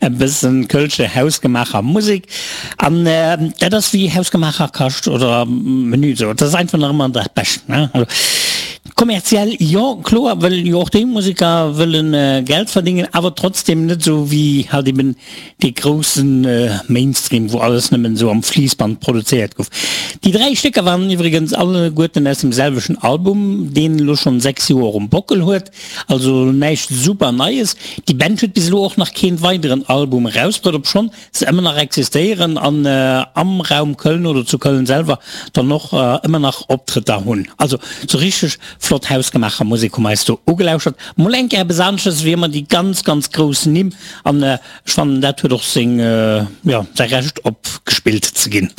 E bëssen kölsche hausgemaacher Musek. An dat ass wéi hausgemaacher Kascht oder Menü esou. Dat ass einfach nach ëmmer dat Bescht, ne? Also kommerziell, jo kloer, wëll jo och déi Museker wëllen Geld verdingen, awer trotzdem net esou wéi halt eben dee groussen Mainstream, wou alles nëmmen esou am Fliissband produzéiert gouf. Déi 3 Stécker waren iwwregens alleguerten aus dem selwechten Album, deen elo schonn 6 Joer um Bockel huet. Also näischt super Neies. Déi Band huet bis elo och nach keen weideren Album erausbruet, obschonn se ëmmer nach existéieren an am Raum Köln oder zu Köln selwer dann och ëmmer nach Optrëtter hunn. Also sou richteg flott hausgemaacher Musek hu mer eis do ugelauschert. Mol eng Kéier eppes anesches wéi ëmmer déi ganz ganz grouss Nimm an ech fannen dat huet och seng, jo, säi Recht op gespillt ze ginn.